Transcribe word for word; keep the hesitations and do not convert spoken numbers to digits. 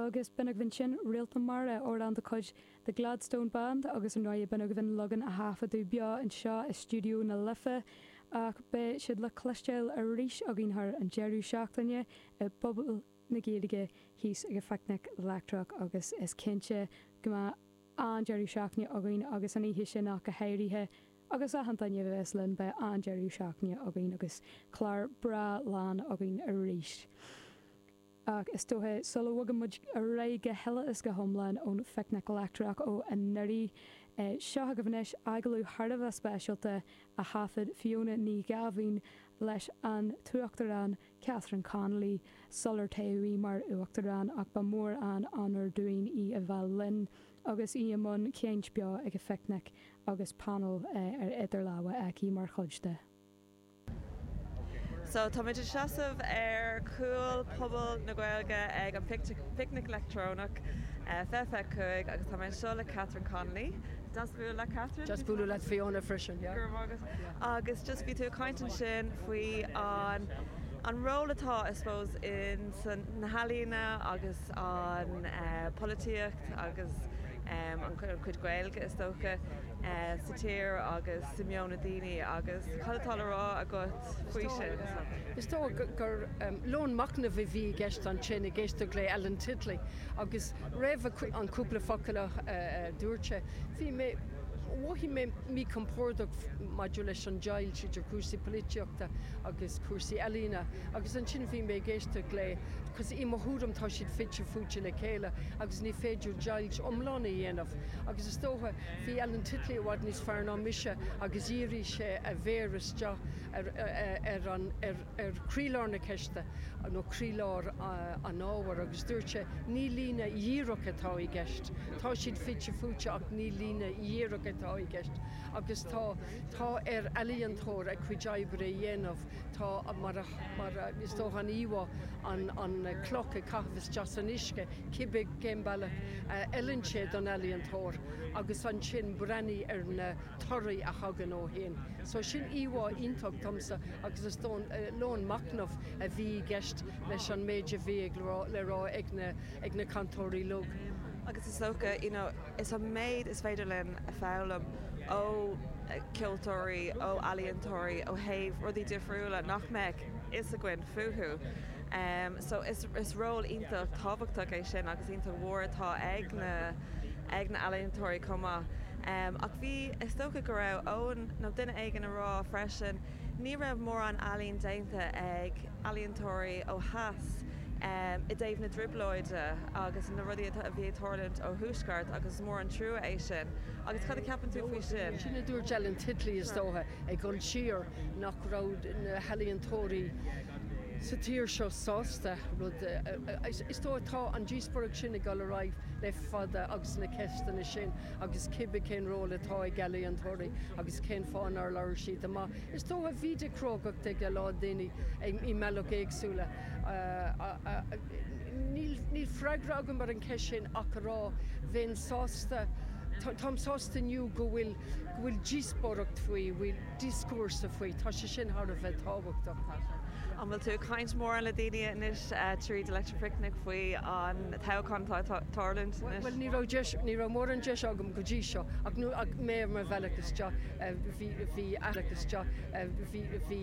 Agus b'in agaibh ansin Réalt na Mara amhrán de chuid The Gladstone Band agus an ráie b'in agaibh an leagan a taifeadadh beo anseo i stiúideo na Life ach beidh siad le cloisteáil arís againn thar an deireadh seachtaine i bPuball na Gaeilge thíos ag an Phicnic Leictreach agus is cinnte go mbeidh an-deireadh seachtaine againn agus an oíche sin ach go háirithe agus achan duine a bheas linn beidh an-deireadh seachtaine againn agus clár breá lán againn arís. Ach is dócha sula bhfuil muid réidh go huile is go hiomlán ón Phicnic Leictreach ó anuraidh seo agaibh anois agallamh thar a bheith speisialta a thaifead Fiona Ní Ghabhain leis an tUachtarán Catherine Connolly sular toghadh í mar uachtarán ach ba mhór an onóir dúinn í a bheith linn agus í i mbun caint beo ag an Phicnic agus panel ar idir lámha aici mar chuid de. So tá muid ag seasamh ar chúl Phuball na Gaeilge ag an Picnic Leictreonach fiche fiche cúig agus tá mé anseo le Catherine Connolly. Deas bualadh leat Catherine? Deas bualadh leat Fiona freisin. Agus just bhí tú caint ansin faoi an an ról atá I suppose in san na healaíona agus an uh, polaitíocht agus um, an chuid Gaeilge is dócha uh, sa tír agus sa meon na daoine agus cad atá le rá agat faoi sin. Is dócha gur um, lón machnaimh a bhí i gceist ansin ag éisteacht le Ellen Titley agus roimh an cúpla focal uh, uh, dúirt sé. Bhí mé mhothaigh mé míchompordach maidir leis an deighilt idir cúrsaí polaitíochta agus cúrsaí ealaíne, agus ansin bhí mé ag éisteacht le cos i mo thuairim tá siad fite fuaite le chéile agus ní féidir deighilt iomlán a dhéanamh. agus is dócha bhí Ellen Titley i bhfad níos fearr ná mise agus dhírigh sé a mhéar isteach ar, ar, ar, ar, ar chroílár na ceiste nó croílár an ábhair agus dúirt sé ní líne dhíreach atá i gceist. Tá siad fite fuaite ach ní líne dhíreach atá i gceist. agus tá tá ar ealaíontóir a chuid oibre a dhéanamh tá mar mar is dócha an íomhá an an cloch ag caitheamh isteach san uisce cibé cén bealach fheileann sé don ealaíontóir agus ansin breathnú ar na torthaí a thagann ó shin. So sin íomhá iontach domsa agus is dócha lón machnaimh a bhí i gceist leis an méid a bhí ag le rá ag na ag na cainteoirí uilig. Agus is dócha you know, is an méid is féidir linn a fhoghlaim ó ceoltóirí ó ealaíontóirí ó thaobh rudaí difriúla nach mbeadh fhios againn fúthu. Um, so is, is ról iontach tábhachtach é sin agus iontach mhór atá ag na ag na ealaíontóirí chomh maith. Um, ach bhí is dócha go raibh Eoin nó duine éigin ag rá freisin, ní raibh mórán ealaín déanta ag ealaíontóirí ó theas um, i dtaobh na dtrioblóide agus na rudaí a bhí ag tarlúint ó thuaisceart agus mór an trua é sin. Agus cad a cheapann tú faoi sin. Sin a dúirt Ellen Titley is dócha ag dul siar nach raibh na healaíontóirí sa tír seo sásta rud is dócha tá an díospóireacht sin ag dul ar aghaidh le fada agus na ceisteanna sin agus cibé cén ról atá ag ealaíontóirí agus cén fáth nár labhair siad amach. Is dócha bhí de chrógacht ag a lán daoine i mbealaí éagsúla. Níl freagra agam ar an cheist sin ach rá bheinn sásta Táim sásta inniu go bhfuil go bhfuil díospóireacht faoi bhfuil dioscúrsa faoi, tá sé sin thar a bheith tábhachtach. An bhfuil tú caint mór le daoine anois tríd Electric Picnic faoi an toghchán tarlúint? Well ní raibh ní raibh mórán deis agam go dtí seo ach nu ach mé mar bhealach isteach bhí bhí isteach bhí bhí